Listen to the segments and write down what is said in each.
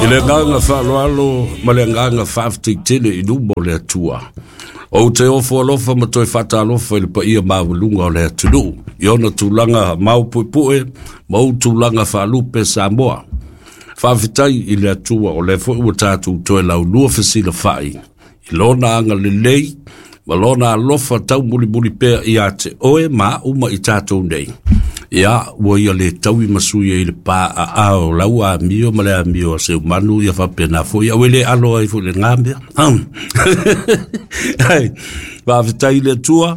I le agaga faaaloalo ma le agaga faafetai tele i luma o le Atua. Ou te ofo alofa ma toe faatalofa i le paia maualuga o le atunuu i ona tulaga maopuepue ma ou tulaga faalupe Samoa. Faafetai i le Atua o lea foi ua tatou toe laulua fesilafai i lona agalelei ma lona alofa taumulimuli pea ia te oe ma au ma i tatou nei. Ia, ua ia le taui ma sui ai le pā aao o lau amio ma le amio a Seumanu ia faapena foi, au e le alo ai foi le ngā mea. Ai, faafetai i le Atua,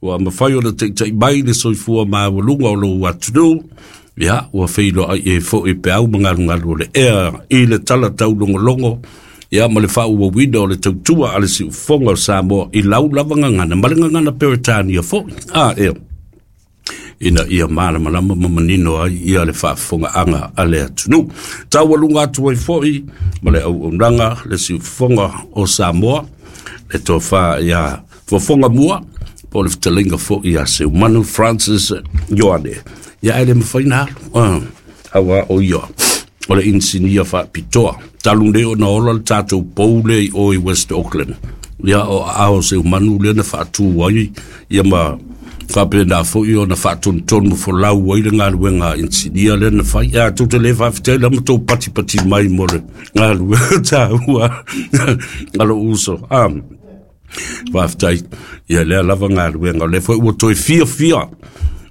ua mafai ona taitai mai le soifua maualuga o lou atunuu. Ia, ua feiloai ai foi peau ma galugalu o le ea i le tala taulogologo, ia ma le faaauauina o le tautua a le siufofoga o Samoa i lau lava gagana ma le gagana Peretania foi. A, ea, ina ia malamalama ma manino ai ia le faafofogaaga a le atunuu. Taualuga atu ai foi ma le auaunaga le siufofoga o Samoa, le tofa ia Fofoga Mua, po o le fetalaiga foi ia Seumanu Francis Ioane. Ia ae le mafai na alu, aua o ia o le inisinia faapitoa. Talu nei ona ola le tatou pou lea i o i West Auckland. Ia o aao o Seumanu lea na faatu ai ia ma faapena foi ona faatonutonu folau ai le galuega a inisinia lea na fai. Ia tou te le faafetai la ma tou patipati mai mo le galuega taua a lou uso. Faafetai ia lea lava galuega. O lea foi ua toe fiafia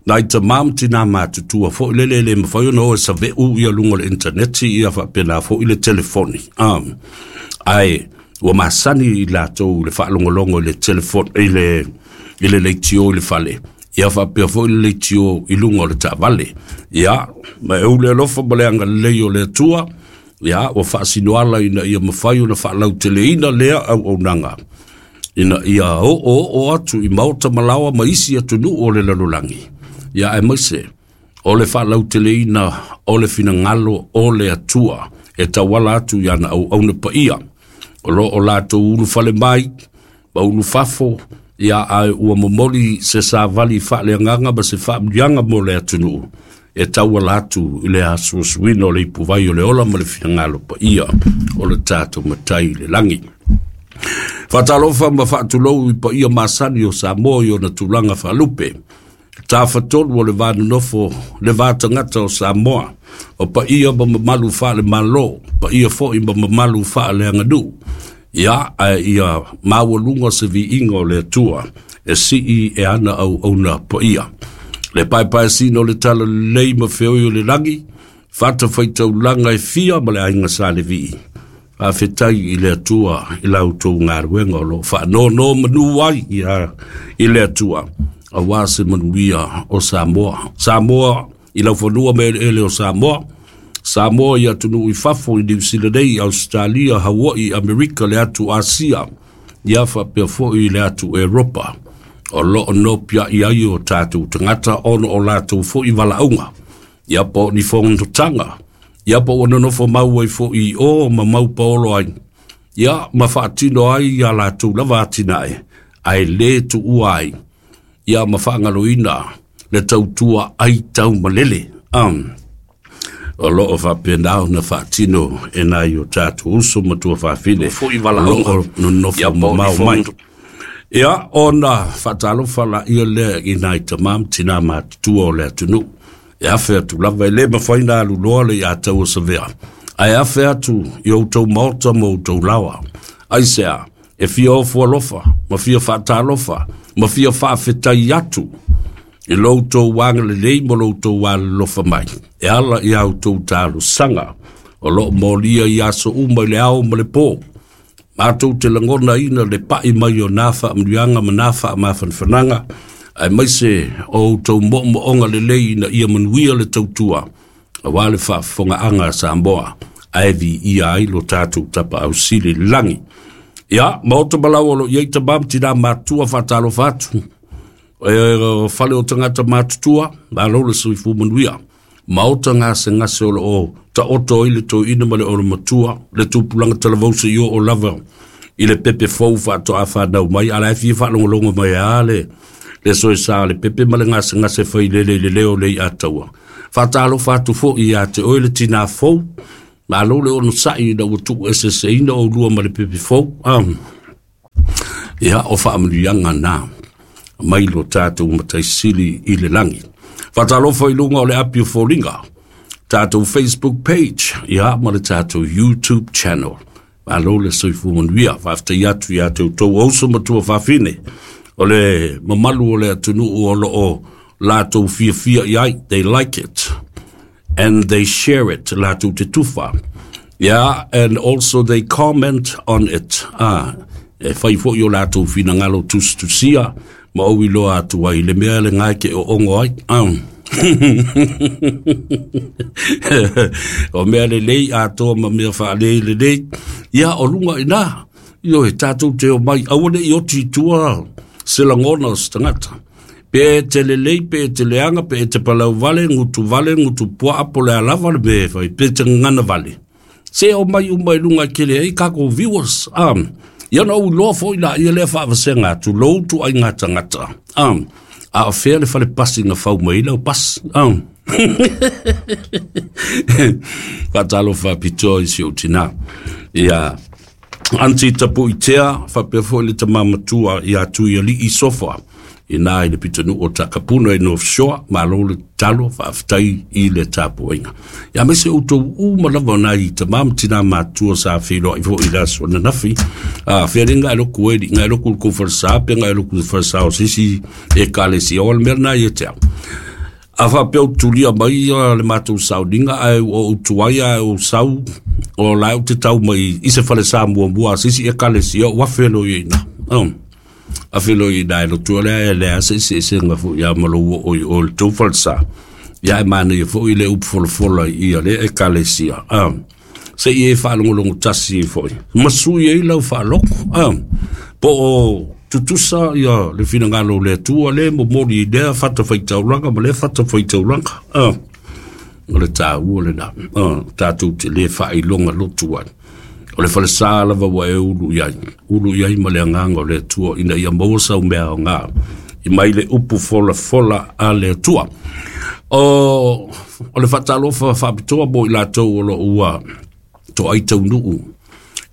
nai tamā ma tinā matutua foi lele e le mafai ona o e save'u ia luga o le initaneti ia faapena foi le telefoni. Ae ua masani i latou i le faalogologo i le telefoni i le leitio i le fale, ia faapea foi le leitio i luga o le taavale. Ia, ma e ou le alofa ma le agalelei o le Atua, ia ua faasinoala ina ia mafai ona faalauteleina lea auaunaga ina ia oooo atu i maota ma laoa ma isi atunuu o le lalolagi, ia aemaise o le faalauteleina o le finagalo o le Atua e tauala atu i ana auauna paia o lo o latou ulufale mai ma ulufafo, ia ae ua momoli se savali faaleagaga ma se faamanuiaga mo le atunuu e tauala atu i le asuasuina o le ipuvai o le ola ma le finagalo paia o le tatou Matai i le lagi. Faatalofa ma faatulou i paia masani o Samoa i ona tulaga faalupe. Tafatolu o le va nonofo le va tagata o Samoa, o paia ma mamalu faale-Malo, paia foi ma mamalu faaleaganuu. Ia, ae ia maualuga se viiga o le Atua e sii e ana auauna paia. Le paepaesina o le talalelei ma feoi o le lagi, fatafaitaulaga e fia ma le aiga Sa Levi. Faafetai i le Atua i la outou galuega o lo o faanonomanu ai ia i le Atua, aua se manuia o Samoa. Samoa i laufanua ma eleele o Samoa, Samoa i atunuu i fafo i Niu Sila nei, Ausetalia, Hawaii, Amerika, le atu Asia, ia faapea foi i le atu Eropa, o lo o nopiai ai o tatou tagata ona o latou foi valaauga, ia po o ni fonotaga, ia po ua nonofo mau ai foi i o ma mau paolo ai, ia ma faatino ai ia latou lava atinae, ae le tuua ai, ia ma faagaloina le tautua ai taumalele. O lo o faapena ona faatino e nai o tatou uso ma tuafafine Foi o lo valaauga. o nonofo Ia po o ni mamao mai. fono. Ia, ona faatalofa laia lea i nai tamā ma tinā matutua o le atunuu. E afe atu lava e le mafai na alu loa le ia tau o savea. Ae afe atu i outou maota ma outou laoa. Aisea, e fia ofo alofa, ma fia faatalofa, ma fia faafetai atu i lo outou agalelei ma lo outou alolofa mai. E ala i a outou talosaga o lo o molia i aso uma i le ao ma le pō. Matou te lagonaina le pai mai o nā faamanuiaga ma nā faamafanafanaga, aemaise o outou moomooga lelei ina ia manuia le tautua, aua le faafofogaaga a Samoa, ae viia ai lo tatou tapaau sili i le lagi. Ia, maota ma laoa o lo o i ai tamā ma tinā matutua faatalofa atu. E, fale o tagata matutua, malo le soifua manuia. Maota gasegase o lo o taoto ai le toeaina ma le olomatua, le tupulaga talavou i oo lava i le pepe fou faatoa fanau mai, a la e fia faalogologo mai a le soesa le pepe ma le gasegase failele i le leo le i ataua. Faatalofa atu foi ia te oe le tinā fou, Malo le onosai ina ua tuueseeseina oulua ma le pepe fou. Ia, o faamanuiaga na mai lo tatou Matai Sili i le lagi. Faatalofa i luga o le api o foliga, tatou Facebook page, ia, ma le tatou YouTube channel. Malo le soifua manuia. Faafetai atu ia te outou uso ma tuafafine, o le mamalu o le atunuu o lo o latou fiafia i ai. They like it and they share it, latou te tufa. Yeah, and also they comment on it. E fai foi o latou finagalo tusitusia ma ou iloa atu ai le mea le ngae ke o ongo ai. O mea lelei atoa ma mea faalei lelei. Ia, o luga ina, ioe, tatou te o mai, aua ne i oti i tua se lagona o se tagata. Pe te lelei, pe te leaga, pe te palau vale, gutu vale, gutu puaa, po le a lava le mea e fai, pe te gagana vale. Se o mai uma i luga e tele ai kākou viewers. Ia ona ou iloa foi laia lea faavasega atu, lou ituaiga tagata. A o fea le fale pasi na fau mai ai lau pasi. Faatalofa faapitoa i si ou tinā. Ia, Aunty Tapuitea, faapea foi le tama matua ia Tuialii Sofa, ina i le pitonuu o Takapuna i North Shore, malo le tatalo, faafetai i le tapuaiga. Ia aemaise outou uma lava nai tama ma tina matua sa feiloai foi i le aso ananafi. Fea le ngai loku e ngai loku le kou falesa, pe ngai loku le falesa o se isi ekalesia, o le mea lena ia te au. A faapea ou tulia mai le matou sauniga ae ua ou tuai ae ou sau o la ou te tau mai i se falesa muamua a se isi ekalesia, ua afe loa i ina. Afe loa i ina e lotu lea e lea se eseesega foi ia ma lou oo i o i le tou falesa. Ia e manaia foi le upu folafola i ia lea ekalesia. Se i e faalogologo tasi ai foi ma sui ai lau faalogo. Po o tutusa ia le finagalo o le Atua le momoli i lea fatafaitaulaga ma lea fatafaitaulaga. O le taua lena. Tatou te le faailoga lotu ai. O le falesa lava ua e ulu i ai, ulu i ai ma le agaga o le Atua ina ia maua sau mea aoga i mai le upu folafola a le Atua. O le faatalofa faapitoa mo i latou o lo o ua toai taunuu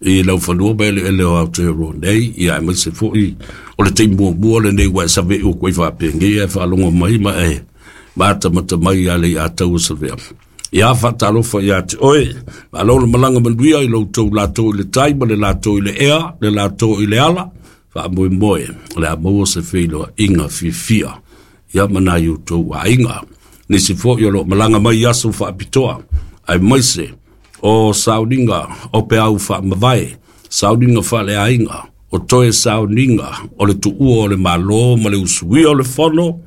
i laufanua ma eleele o Aotearoa nei, ia aemaise foi o le taimi muamua lenei ua e save'u atu ai faapenei ae faalogo mai ma e matamata mai ia Leiataua Savea. Ia faatalofa ia te oe, malo le malaga manuia i lo outou latou i le tai ma le latou i le ea, le latou i le ala, faamoemoe o le a maua se feiloaiga fiafia ia ma nai outou aiga. Nisi foi o lo o malaga mai i aso faapitoa, aemaise o sauniga o peau faamavae, sauniga faaleaiga, o toe sauniga o le tuua o le Malo ma le usuia o le fono,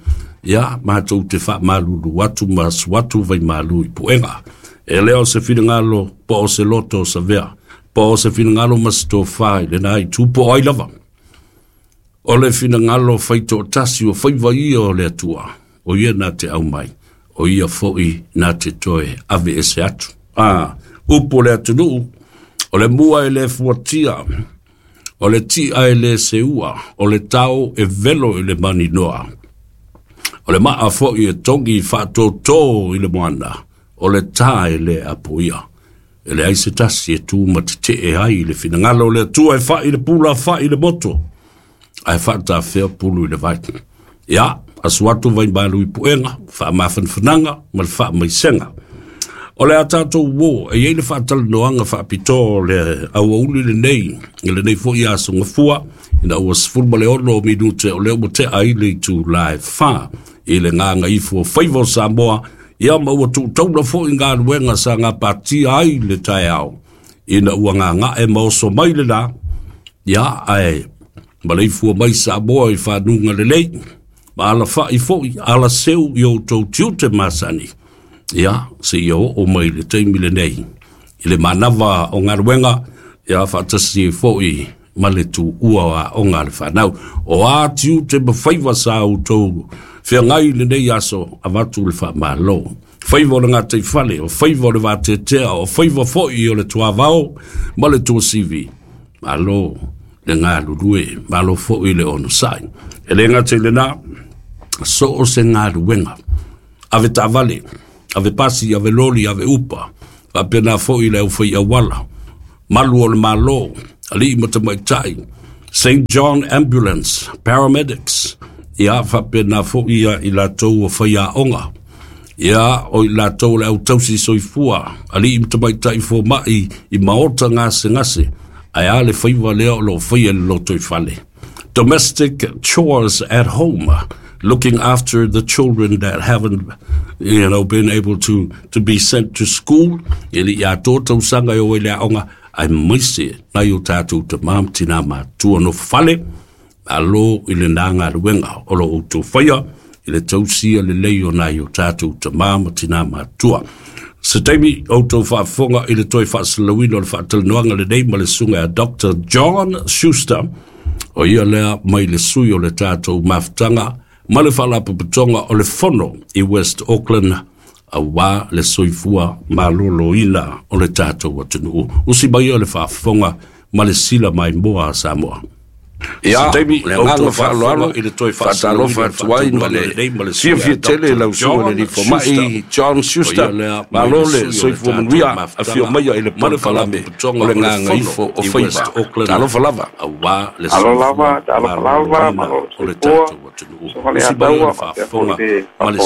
ia matou te faamalulu atu ma asu atu vaimalu i puega. E le o se finagalo po o se loto o Savea, po o se finagalo ma se tofa i lena itu po o ai lava. O le finagalo faitoatasi o faiva ia o le Atua, o ia na te aumai, o ia foi na te toe ave ese atu. Upu o le atunuu, o le mua e le fuatia, o le ti'a e le seua, o le tao e velo i le maninoa, o le maa foi e togi faatōtō i le moana, o le tā e le apoia. E leai se tasi e tu ma tetee ai i le finagalo o le Atua e fai le pula, fai le moto, ae faatafea pulu i le vai. Ia, asu atu vaimalu i puega, faamafanafanaga ma le faamaisega. O le a tatou uō, e i ai le faatalanoaga faapitoa o le aoauli lenei, i lenei foi aso Gafua, ina ua 16 minute o lea ua tea ai le itula e 4 i le gagaifo o faiva o Samoa, ia ma ua tuutaula foi galuega sa gapatia ai le taeao, ina ua gaga'e ma oso mai le la, ia ae maleifua mai Samoa i fanuga lelei, ma alafa'i foi alaseu i outou tiute masani, ia seia oo mai le taimi lenei i le manava o galuega, ia faatasi ai foi ma le tuua o aoga a le fanau. O a tiute ma faiva sa outou feagai i lenei aso, avatu le faamalo. Faiva o le gataifale, o faiva o le vateatea, o faiva foi o le tuavao ma le tuasivi. Malo le galulue, malo foi le onosai. E le gata i lena, so o se galuega, ave taavale, ave pasi, ave loli, ave upa, Faapena fo'i le aufaiauala, malu o le Malo, alii ma tamaitai, St. John Ambulance, paramedics, ia faapena fo'i ia i latou ua faiaoga, ia o i latou o le autausi soifua, alii ma tamaitai foma'i i maota gasegase, ae a le faiva lea o loo faia i le lotoifale. Domestic chores at home, looking after the children that haven't been able to be sent to school, e le i atoa tausaga e o ai le aoga, aemaise nai o tatou tamā ma tinā matua nofo fale. Malo i lena galuega o lo outou faia i le tausia lelei o nai o tatou tamā ma tinā matua. Se taimi outou faafofoga i le toe faasalalauina o le faatalanoaga lenei ma le susuga ia Dr. John Schuster, o ia lea mai le sui o le tatou mafutaga ma le Faalapotopotoga o le Fono i West Auckland auā le soifua maloloina o le tatou atunuu. Usi mai ia le faafofoga ma le sila maimoa a Samoa. Ia, le agaga faaaloalo faatalofa atu ai ma le fiafia tele i lau susuga i le alii fomai John Schuster. Malo le soifua manuia, afio maia i le polokalame o le Gagaifo o Faiva. Talofa lava. Alo lava, talofa lava, malo le soifua, soa le ataua, faapea foi le faafofogaaga a le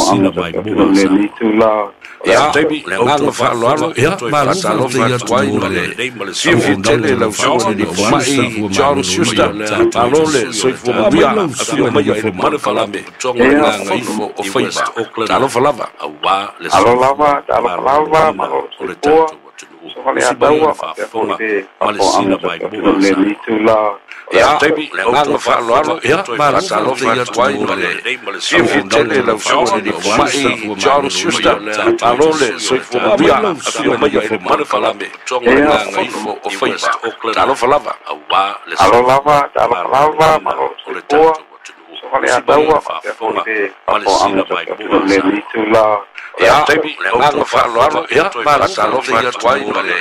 atunuu i lenei itula o le Ia, aso. le agaga faaaloalo faatalofa atu ai ma le fiafia tele i lau susuga i le alii fomai John Schuster. Malo le soifua manuia, afio maia i le polokalame o le Gagaifo o Faiva. Talofa lava. Alo lava, talofa lava, malo le soifua, soa le ataua, faapea foi le faafofogaaga a le atunuu i lenei itula o le Ia, aso. le agaga faaaloalo faatalofa atu ai ma le fiafia tele i lau susuga i le alii fomai John Schuster. Malo le soifua manuia, afio maia i le polokalame o le Gagaifo o Faiva. Talofa lava. Alo lava, talofa lava, malo le soifua, soa le ataua, faapea foi le faafofogaaga a le atunuu i lenei itula o le Ia, aso. le agaga faaaloalo faatalofa atu ai ma le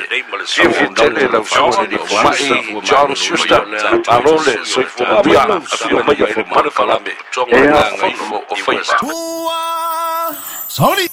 fiafia tele i lau susuga i le alii fomai John Schuster. Malo le soifua manuia, afio maia i le polokalame o le Gagaifo o Faiva. Sorry.